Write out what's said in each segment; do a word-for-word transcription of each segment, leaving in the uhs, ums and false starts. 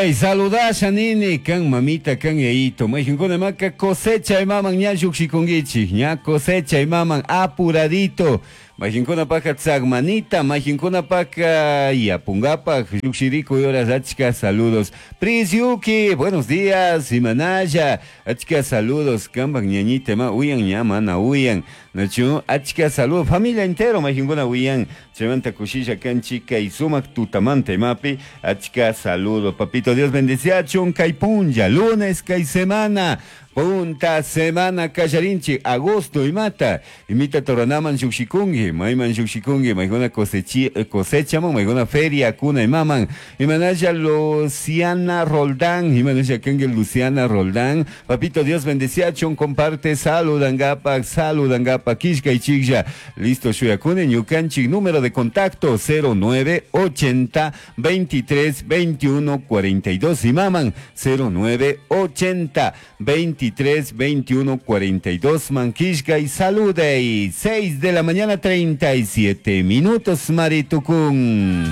Saludasha nini kan mamita kan yayito mayqinkuna maka cosecha imaman ña lluqshikunkichik ña cosecha imaman apuradito mayqinkunapaq tzagmanita mayqinkunapaq yapungapaq lluqshirikuy horas achka saludos. Prisiuki, buenos días, imanalla achka saludos kanpak ñañita ima uyan ña mana uyan nachu achka saludos familia entero mayqinkuna uyan chaymanta kushilla kanchik kay sumaq tutamanta imapi achka saludos papito Dios bendeciachun kay punlla lunes kay semana punta semana kallarinchik agosto imata imita toranaman lluqshikunki mayman lluqshikunki maykuna cosechi cosechaman maykuna feria kuna imaman imanalla Luciana Roldán imanalla kanki Luciana Roldán papito Dios bendeciachun comparte saludangapak saludangapak killkaychiklla listo shuyakuni ñukanchik número de contacto cero nueve ochenta veintitrés veintiuno cuarenta y dos imaman cero nueve ochenta veintitrés veintiuno cuarenta y dos manquishka y salude y seis de la mañana treinta y siete minutos Maritucún.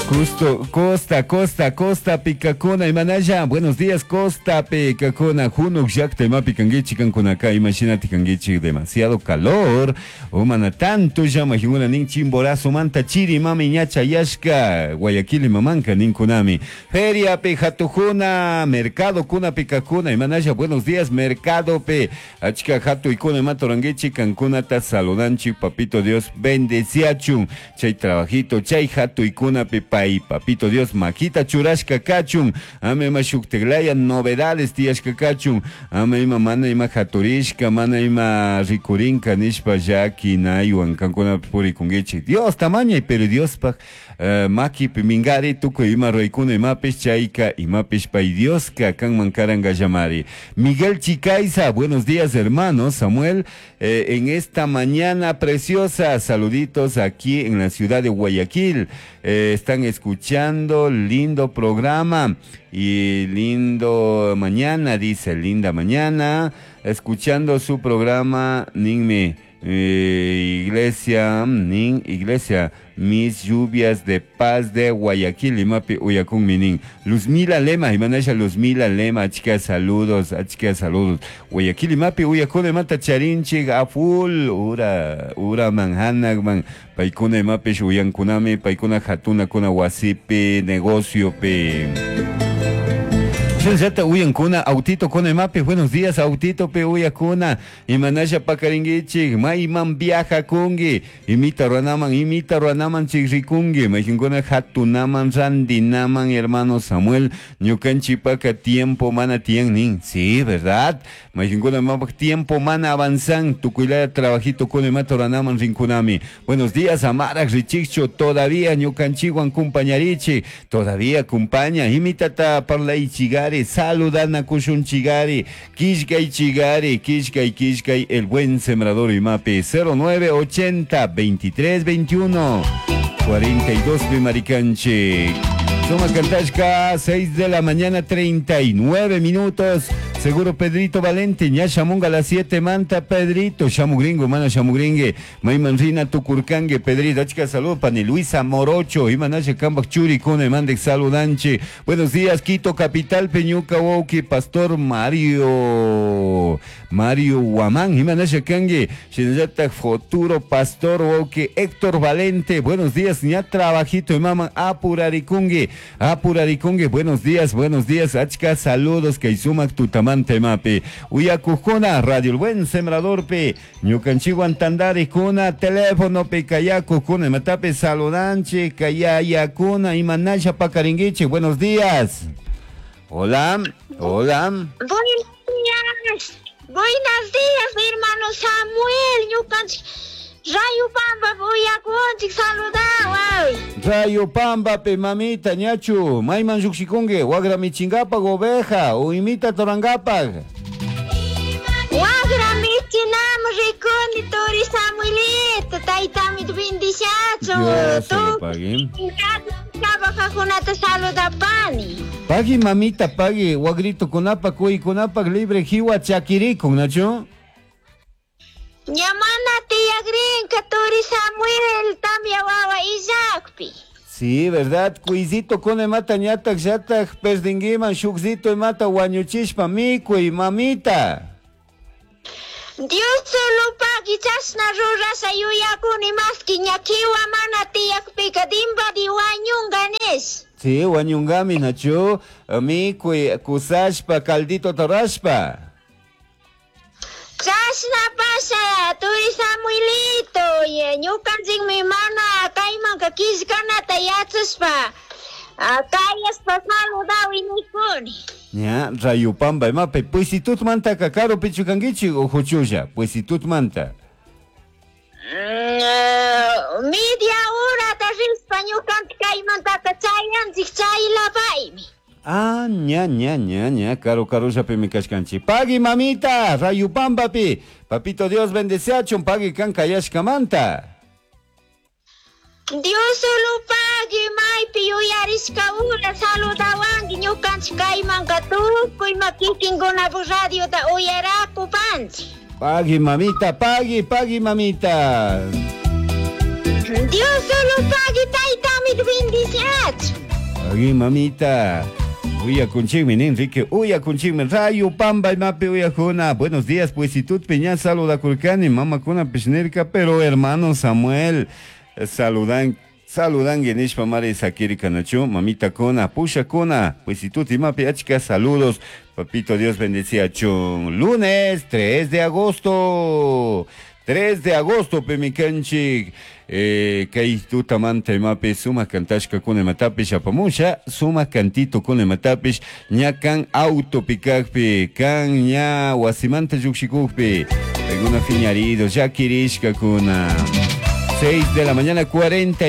Justo, Costa, Costa, Costa, Picacuna, Imanaya, buenos días, Costa, Picacuna, Junuk, Yakta, Imapi, Kanguichi, Kankunaka, imagínate, Kanguichi, demasiado calor, Umana, tanto llama, Junguna, Nin, Chimborazo, Manta, Chiri, Mami, Ñacha, Yashka, Guayaquil, y Mamanca, Ninkunami, Feria, Pejatujuna, Mercado, Kuna, Picacuna, Imanaya, buenos días, Mercado, Pe, Achka, Jatu, Ikuna, Matoranguichi, Cancunata, Saludanchi, Papito Dios, bendeciachun, Chay, Trabajito, Chay, Jatu, Ikuna, Pepa, y papito Dios maquita churashka kachun ame ima shukteglaya novedades tiyashka kachun ame ima mana ima haturishka mana ima rikurinka nishpa llaki naywan kankuna purikunkichik Dios tamañay pero Diospaj uh, makipi mingari tukuy ima ruwaykuna imapish chayka imapish pay Dioska kanman karanga llamari. Miguel Chicaiza, buenos días hermano Samuel, eh, en esta mañana preciosa, saluditos aquí en la ciudad de Guayaquil, eh, están escuchando lindo programa y lindo mañana, dice, linda mañana, escuchando su programa, ninme, eh, iglesia, nin, iglesia, mis lluvias de paz de Guayaquil, imapi uyakun minin. Luzmila Lema, imanasha Luzmila Lema, achka saludos, achka saludos. Guayaquil, imapi uyakun imata charinchik, a full, ura, ura manhanakman, paikuna imapish uyankunami, paikuna hatuna kuna wasipi, negocio pi. Shinallata uyankuna, autito kuna imapi, buenos días, autito pe uyakuna, imanasha pakaringuichik, mayman viaja kungi, imita ruanaman, imita ruanaman chikrikungi, maykinkuna hatunaman, randinaman, hermano Samuel, ñukanchipaka tiempo mana tiyan nin, sí, verdad, maykinkuna mapak tiempo mana avanzan, tukuylaya trabajito kuna imata ruanaman rinkunami. Buenos días, amarak richicho, todavía ñukanchiwan kumpañarichi, todavía kumpaña, imitata parlaichigari, saludana kushunchigari, kishkay chigari, kishkay kishkay, el buen sembrador imapi, cero nueve ochenta veintitrés veintiuno cuarenta y dos Bimaricanchi. Suma Cantashka, seis de la mañana, treinta y nueve minutos. Seguro Pedrito Valente, ña shamunga a las siete, manta Pedrito, shamugringo, mana shamugringue, mayman rina tukurkangue, Pedrito, achka salud, pani Luisa Morocho, imanasha kambak churi, kune mandek saludanche. Buenos días, Quito Capital, Peñuca, Wauki, Pastor Mario, Mario Guamán, imanasha kangue, shinallata futuro Pastor Wauki, Héctor Valente, buenos días, ña trabajito, imama apurarikungue, apurarikungue, buenos días, buenos días, achka saludos, kaisumak tutamante mapi, uyakujuna, Radio El Buen Sembrador pe, ñukanchiwan tandarikuna, teléfono pe, kayakujuna, matape saludanche, kayayakuna, imanasha pakaringuiche, buenos días. Hola, hola. Buenos días, buenos días, hermano Samuel, ñukanchik. Rayo Pamba, uyakunchik, saludaway. Rayo Pamba, pe mamita, ñachu, mayman lluqshikunki, wagra michingapaq oveja, o imita torangapaq. Wagra michinam rikuni, turi Samuelito, taytami bendiciachu. Dios lo pague. Trabajakunata saludapani. Pagui mamita, pagui, wagrito kunapaq, kuykunapaq, libre jiwa chakirikun, nachu. Ñamana tiyagrinka turi Samuel tamya wawa illakpi. Sí, verdad, cuisito con emata ñatak yatak perdinguiman shukzito emata wañuchishpa mikuy mamita. Dios solo pagui chashna rurasha yuyakuni maski ña kiwa mana tiyakpika dimbadi wañunga nish. Sí, wañungami nachu, mikuy kusashpa caldito torashpa. Chashna pasha turi Samuelito, ñukanchikmi mana kaymanka killkanata yachashpa kayashpa saludawi nikuni. Ña, Rayupamba imapi, Puisitutmanta karupichu kankichik o huchulla, Puisitutmanta. Mm, media horata rishpa ñukanchik kaymantaka chayanchik chaylapaymi. Ah, ña, ña, ña, ña, caro, caro, ya me kashkanchi. Pagui, mamita, Rayupambapi. Papito Dios bendeciachun, pagui kan kayashkamanta. Dios solo pagui, maypi yuyarishka ura saludawanki ñukanchik kaymanka tukuy ma kikinkunapak radiota uyarakupanchik. Pagui, mamita, pagui, pagui, mamita. Dios solo pagui, taytami bendiciachun. Pagui, mamita. Uya kunchikmi, Enrique, uya kunchikmi, Rayupamba imapi uyajuna. Buenos días, pues si tú peña saluda kulkani, mama kuna pishnirka, pero hermano Samuel, saludan, saludan nishpa mari sakiri kanachu, mamita kuna, pusha kuna, pues si tú imapi achka saludos, papito Dios bendecía chun. Lunes tres de agosto. tres de agosto, pemikanchik, eh, kay tutamanta imapi suma kantashka kuna imatapish apamusha, suma kantito kuna imatapish, ña kan auto pikakpi, kan ña wasimanta llukshikukpi, alguna fiñarido, ya kirishka kuna. seis de la mañana, cuarenta